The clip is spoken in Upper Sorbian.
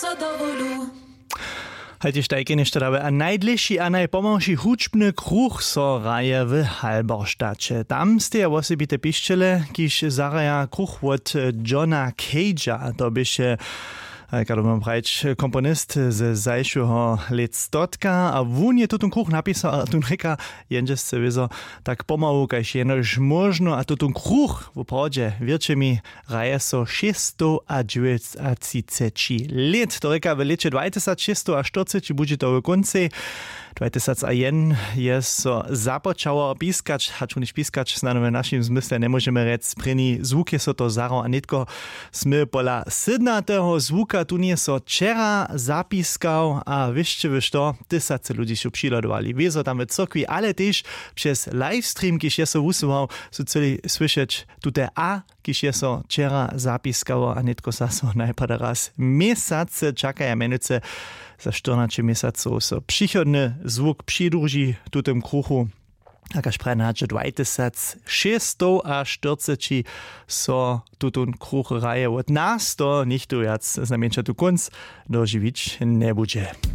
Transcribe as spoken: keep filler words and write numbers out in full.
So do wulu. Hajtež tajke něšto dały a najdlěši a najpomałši hudźbny kruch so hraje w Halberštaće. Tam steja wosebite pišćele, kiž zahraja kruch wot Johna Cage'a. To běše, eh, kado mam prajć, komponist ze zašłeho lětstotka a wón je tutón kruch napisał a tón rěka, jenže sce wězo, tak pomału kaž jenož móžno a tutón kruch woprawdźe wěrće mi, hraje so šěsćstowdźewjećatřiceći lět. To rěka, w lěće dwajtysacšěsćstowaštyrceći budźe to w kóncej. Dwajtysacajeden je so započało piskać, hač wón piskać snano w našim zmysle njemóžemy rjec. Prěni zwuk je so to zahrało a nětko smy pola sydnateho zwuka tón je so wčera zapiskał a wěsće wy što, tysace ludźi su přihladowali, wězo tam w cyrkwi ale tež přez livestream kiž je so wusyłał, su chcyli słyšeć tute a kiž je so wčera zapiskało a nětko zaso najpada raz měsace čakaja, mjenujcy za štyrnaće měsacow so přichodny zwuk přidruži tutym kruchu. A kaž praje na hače dwajtysacšěsćstowaštyrceći so tutón kruch hraje wot nas, to nichtó wjac znajmjenša tu kónc dožiwić njebudźe.